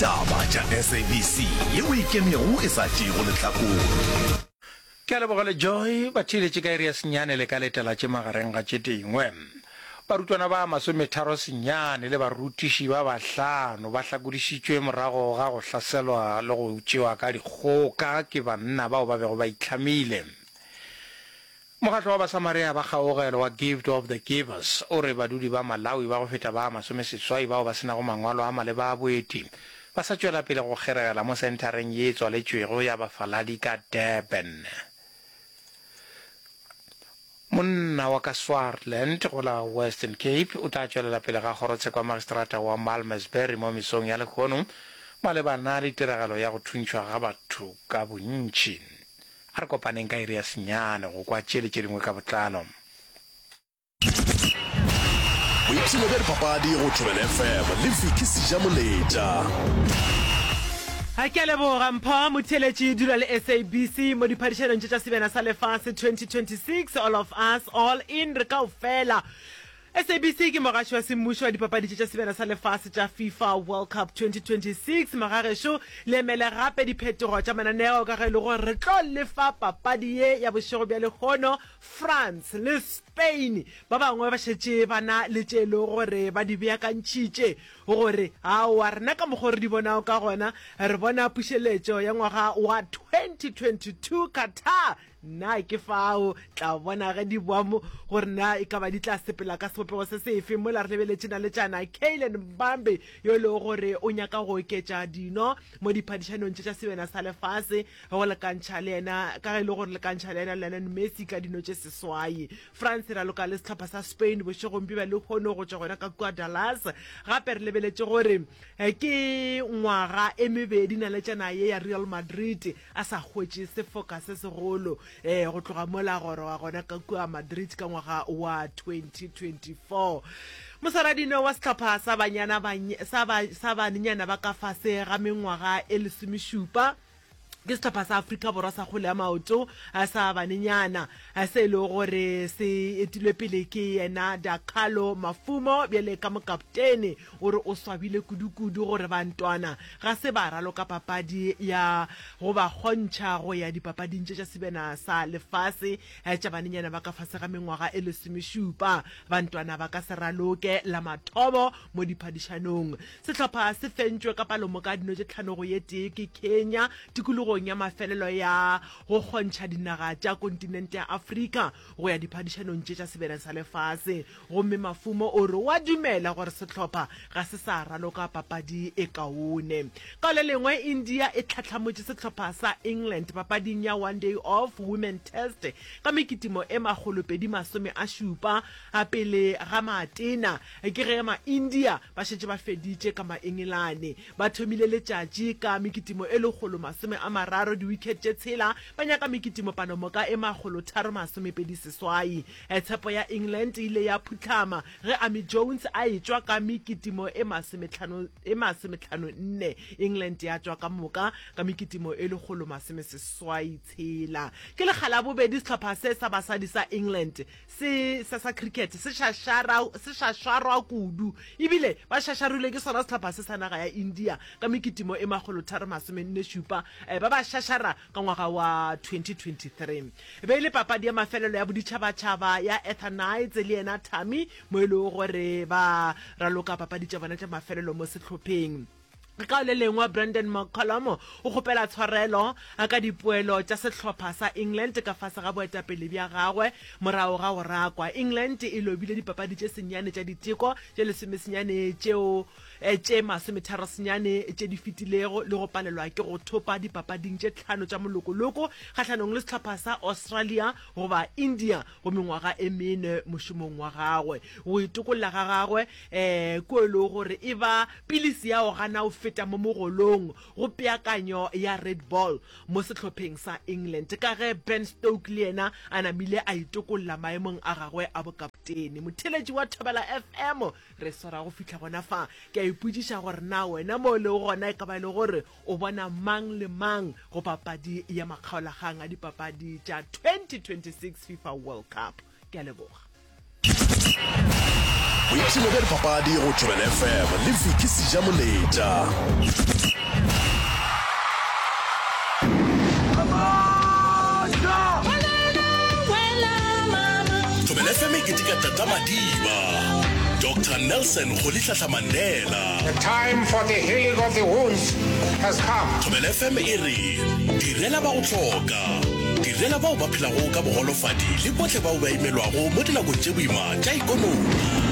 Taba tša SABC yeo e ikemego e sa tšeego lehlakore. Ke a leboga le Joy, ba theeletše ka iri ya senyane le ka letela tše magareng ga tše dingwe. Barutwana ba masometharo senyane le barutiši ba bahlano ba hlakodišitšwe morago ga go hlaselwa le go tšewa ka dikgoka ke banna bao ba bego ba itlhamile. Mokgatlo wa Basamaria ba Kgaogelo wa Gift of the Givers o re badudi ba Malawi ba go feta ba masomeseswai bao ba se nago mangwalo a maleba a boeti ba sa tšwela pele go kgeregela mo senthareng ye e tswaletšwego ya bafaladi ka Durban. Monna wa ka Swartland go la Western Cape o tla tšwelela pele ga kgorotsheko ya magistrata wa Malmesbury mo mesong ya lehono malebana le tiragalo ya go thuntšhwa ga batho ka bontši. A re kopaneng ka iri ya senyane go kwa tše le tše dingwe ka botlalo. Boipshino bja dipapadi go Thobela FM le Vicky Sejamoletša. Ke a leboga Mpho Motheeletši. Dula le SABC mo diphadišanong tše tša Sebjana sa Lefase 2026, All of Us, All In, re kaofela. SABC ke mogaši wa semmušo wa dipapadi tše tša Sebjana sa Lefase tša FIFA World Cup 2026. Magagešo, le emele gape diphetogo tša mananeo ka ge e le gore re tlo lefa papadi ye ya bošego bja lehono, France le Spain. Ba bangwe ba šetše ba na le tše e lego gore ba di beakantšhitše gore aowa rena ka mokgwa o re di bonago ka gona, re bona pušeletšo ya ngwaga wa 2022 Qatar Na ke fao tla bona ge di boa mo gore na e ka ba di tla sepela ka sebopego se sefe. Mola re lebeletše naletšana Kylian Mbappe yo e lego gore o nyaka go oketša dino mo diphadišanong tše tša Sebjana sa Lefase go lekantšha le yena ka ge e le gore lekantšha le yena Lionel Messi ka dino tše seswai. France e raloka le sehlopha sa Spain bošegong bja lehono go tšwa gona ka kua Dallas. Gape re lebeletše gore ke ngwaga e mebedi naletšana ye ya Real Madrid a sa hwetše sefoka se segolo eh, go tloga mola goroga gona ka kua Madrid ka ngwaga wa 2024. Moswaradino wa sehlopha sa banyana sa ba, sa banenyana ba ka fase ga mengwaga e lesomešupa ke sehlopha sa Afrika Borwa sa kgwele ya maoto eh, sa banenyana eh, se e lego gore se etilwe pele ke yena Dakalo Mafumo bjale ka mokaptene O re o swabile kudukudu gore bantwana ga se ba raloka papadi ya go ba kgontšha go ya dipapading tše tša Sebjana sa Lefase tša banenyana ba ka fase ga mengwaga e lesomešupa. Bantwana ba ka se raloke la mathomo mo diphadišanong. Sehlopha se fentšwe ka palomoka dino tše tlhano go ye tee ke Kenya tikologong ya mafelelo ya go kgontšha dinaga tša kontinente ya Afrika go ya diphadišanong tše tša Sebjana sa Lefase. Gomme Mafumo o re o a dumela gore sehlopha ga se sa raloka papadi e kaone. Ka le lengwe, India e tlhahlamotše sehlopha sa England papading ya One Day Off Women Test ka mekitimo e makgolopedi masome a šupa pele ga Maatena. Ke ge ma-India ba šetše ba feditše ka ma-Engelane. Ba thomile letšatši ka mekitimo e lekgolo masome a mararo, di-wicket tše tshela, ba nyaka mekitimo palomoka e makgolotharo masomepedi seswai. Tshepo ya England e ile ya phuhlama ge Amy Jones a etšwa ka mekitimo e masometlhano e masometlhano nne. England ya tšwa ka moka ka mekitimo e lekgolo masomeseswai tshela. Ke lekga la bobedi sehlopha se sa basadi sa England se sa sa cricket se šašara se šašarwa kudu ebile ba šašarilwe ke sona sehlopha se sa naga ya India ka mekitimo e makgolotharo masomenne šupa ba ba šašara ka ngwaga wa 2023. E be e le papadi ya mafelelo ya boditšhabatšhaba ya Ether Knights le yena Thami mo e lego gore ba raloka papadi tša bona tša mafelelo mo sehlopheng. Ka le lengwe, Brendon McCullum o kgopela tshwarelo ka dipoelo tša sehlopha sa England ka fase ga boetapele bja gagwe morago ga go rakwa. England e lobile dipapadi tše senyane tša diteko tše lesomesenyane tšeo tše masometharosenyane tše di fetilego le go palelwa ke go thopa dipapading tše tlhano tša molokoloko kgahlanong le sehlopha sa Australia goba India go mengwaga e mene mošomong wa gagwe. Go itokolla ga gagwe kua e lego gore e ba pilisi ya go gana go feta mo mogolong go peakanyo ya Red Ball mo sehlopheng sa England ka ge Ben Stoke le yena a namile a itokolla maemong a gagwe a bokaptene. Motheeletši wa Thobela FM Re swara go fihla gona fa. Ke a ipotšiša gore na wena mo o lego gona e ka ba e le gore o bona mang le mang go papadi ya makgaolakgang a dipapadi tša 2026 FIFA World Cup. Ke a leboga. Boipshino bja dipapadi go Thobela FM le Vicky Sejamoletša. Thobela FM e keteka Tata Madiba, Doctor Nelson Rolihlahla Mandela. The time for the healing of the wounds has come. Thobela FM e re, Direla ba go hloka, direla bao ba phelago ka bogolofadi le bohle bao ba imelwago mo dinakong tše boima tša ikonomi.